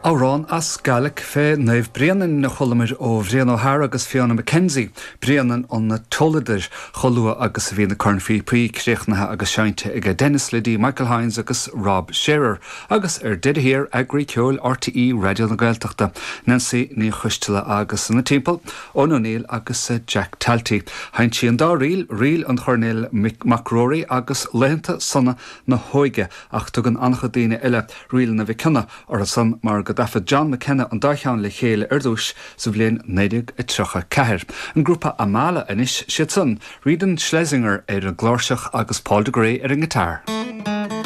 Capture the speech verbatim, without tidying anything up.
Amhrán as Gaeilge fé Naomh Bréanainn a chualamar ó Bhrian O'Hara agus Fiona McKenzie, Bréanainn an Toladair chomh luath agus a bhí na cornphíopaí críochnaithe agus seinnte ag Denis Liddy, Michael Hynes agus Rob Shearer, agus ar deireadh thiar eagraí ceoil RTÉ Raidió na Gaeltachta, Nancy Ní Choisteala agus ina timpeall, Eoin O'Neill agus Jack Talty. Sheinn sí an dá ríl ríl an Choirnéil McRory agus Laethanta Sona na hÓige ach tugann an-chuid daoine eile ríleanna Mhic Cionnaith orthu san mar go dtaifead John McKenna an dá cheann le chéile ar dtús sa bhliain naoi déag tríocha ceathair. An grúpa Amala anois siad san, Reidon Schlesinger ar an gcláirseach agus Paul de Grey ar an ngiotár.